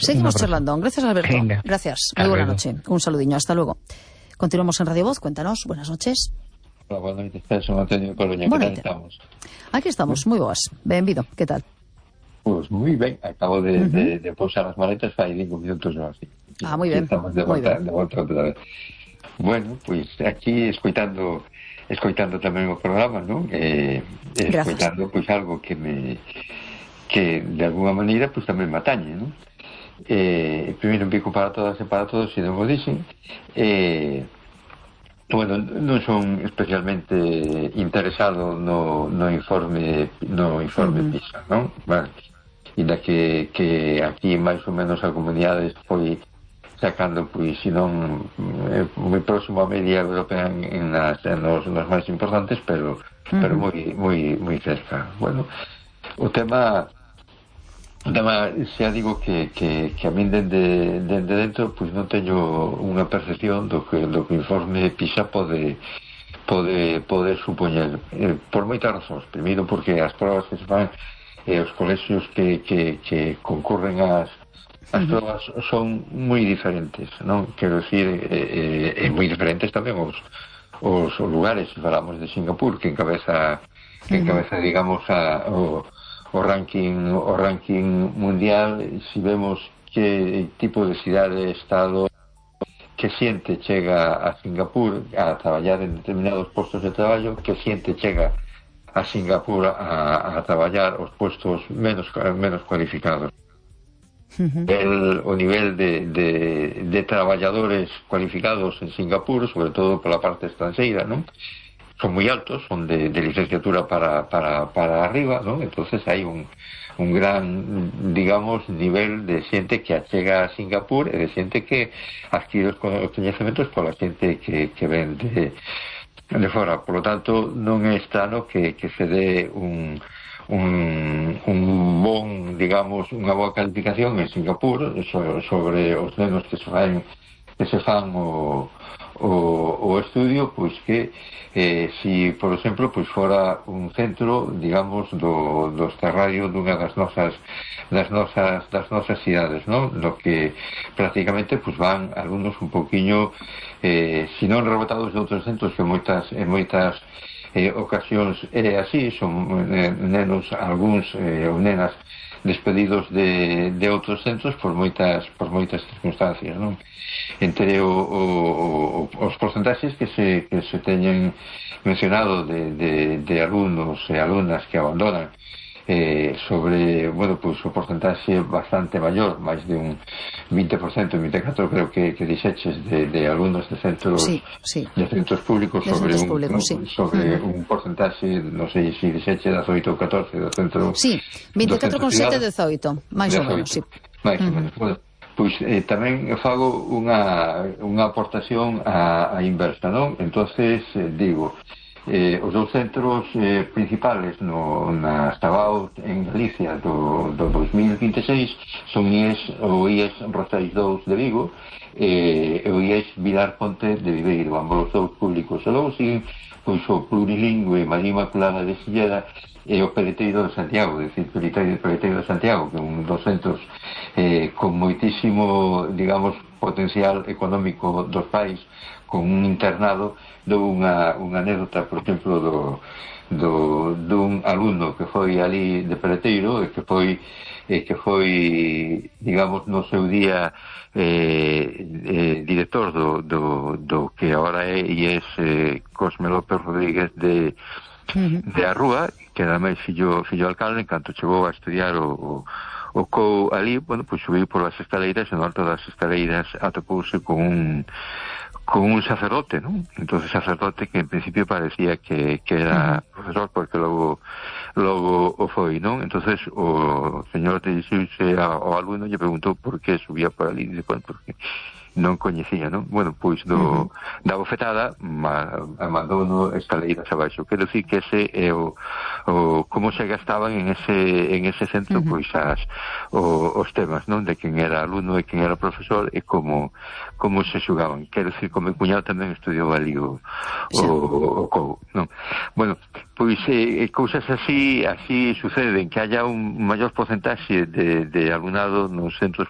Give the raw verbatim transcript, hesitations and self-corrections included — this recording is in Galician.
Seguimos charlando. Gracias, Alberto. Venga. Gracias. Muy buena noche. Un saludiño. Hasta luego. Continuamos en Radio Voz. Cuéntanos. Buenas noches. Hola, buenas noches. Son Antonio Coruña. ¿Qué tal estamos? Aquí estamos. Moi boas. Benvido. Que tal? Pues moi ben. Acabo de, uh -huh. de, de posar as maletas fai cinco minutos ou así. Ah, moi ben. Estamos de volta, de volta outra vez. Bueno, pois pues aquí escoitando escoitando tamén o programa, non? Eh, escoitando pois pues, algo que me que de alguna maneira pois pues, tamén me atañe, non? Eh, primeiro un pico para todas e para todos, se non o dixen. Eh, bueno, non son especialmente interesado no, no informe no informe uh -huh. PISA, non? Vale. Inda que, que aquí máis ou menos a comunidade foi sacando, pois, se non eh, moi próximo a media europea en, en, nas, en nos, nos máis importantes, pero, uh -huh. pero moi, moi, moi cerca. Bueno, o tema o tema, xa digo que, que, que a min dende, dende dentro pois non teño unha percepción do que, do que o informe PISA pode pode, pode supoñer eh, por moitas razóns. Primeiro porque as probas que se fan e eh, os colexios que, que, que concurren ás as probas son moi diferentes, non? Quero dicir, eh, eh, moi diferentes tamén os, os lugares. Se falamos de Singapur, que encabeza que encabeza, digamos, a, o o ranking o ranking mundial, si vemos que tipo de cidade, estado, que xente chega a Singapur a traballar en determinados postos de traballo, que xente chega a Singapur a, a traballar os postos menos menos cualificados. Uh-huh. El, o nivel de, de, de traballadores cualificados en Singapur, sobre todo pola parte estranxeira, non? Son moi altos, son de, de licenciatura para, para, para arriba, ¿no? Entonces hai un, un gran, digamos, nivel de xente que achega a Singapur e de xente que adquire os coñecementos pola xente que, que ven de, de fora. Por lo tanto, non é estrano que, que se dé un, un, un bon, digamos, unha boa calificación en Singapur sobre, sobre os nenos que se fan, que se fan o O, o estudio, pois que eh, si, por exemplo, pois fora un centro, digamos, do, do terrario dunha das nosas das nosas das nosas cidades, non? No que prácticamente pois van alumnos un poquiño eh, si non rebotados de outros centros, que moitas en moitas eh, ocasións é así, son eh, nenos, algúns eh, ou nenas despedidos de, de outros centros por moitas por moitas circunstancias, non? Entre o, o, o, os porcentaxes que se, que se teñen mencionado de, de, de alumnos e alumnas que abandonan eh, sobre, bueno, pois pues, o porcentaxe bastante maior, máis de un vinte por cento, vinte e catro por ciento creo que, que dixeches de, de alumnos de centros sí, sí. de centros públicos de sobre, centros un, públicos, no, sí. sobre uh -huh. un porcentaxe, non sei se dixeches dezoito ou catorce do centro. Sí, vinte e catro con sete dezoito, máis ou menos, sí. Máis ou menos, bueno. Pois eh, tamén fago unha, unha aportación á, á inversa, non? Entonces, eh, digo, eh, os dous centros eh, principales no, na Sabao en Galicia do, do dos mil vinte e seis son I E S, o I E S Roseis dous de Vigo e eh, o I E S Vilar Ponte de Viveiro, ambos os dous públicos. E logo siguen pois o plurilingüe María Inmaculada de Silleda e o Peleteiro de Santiago, é dicir, Peleteiro, Peleteiro de Santiago, que é un dos centros eh, con moitísimo, digamos, potencial económico dos pais, con un internado. Dou unha, unha anécdota, por exemplo, do, do, dun alumno que foi ali de Peleteiro e que foi, eh, que foi, digamos, no seu día eh, eh, director do, do, do que agora é e é eh, Cosme López Rodríguez de de a Rúa, que era máis fillo, fillo alcalde. En canto chegou a estudiar o, o, o C O U ali, bueno, pois subiu por as escaleiras e no alto das escaleiras atopouse con un con un sacerdote, ¿no? Entonces sacerdote que en principio parecía que, que era uh-huh. profesor, porque logo logo o foi, ¿no? Entonces o señor dirixiuse ao alumno e lle preguntou por que subía por ali, e bueno, porque non coñecía, non? Bueno, pois do, uh -huh. da bofetada ma, mandou no escaleiras abaixo. Quero dicir que ese é o, o como se gastaban en ese en ese centro, uh -huh. pois as o, os temas, non? De quen era alumno e quen era profesor e como como se xugaban. Quero dicir, como cuñado tamén estudiou ali o o, o, o C O U, non? Bueno, pois eh, cousas así así suceden, que haya un maior porcentaxe de, de alumnado nos centros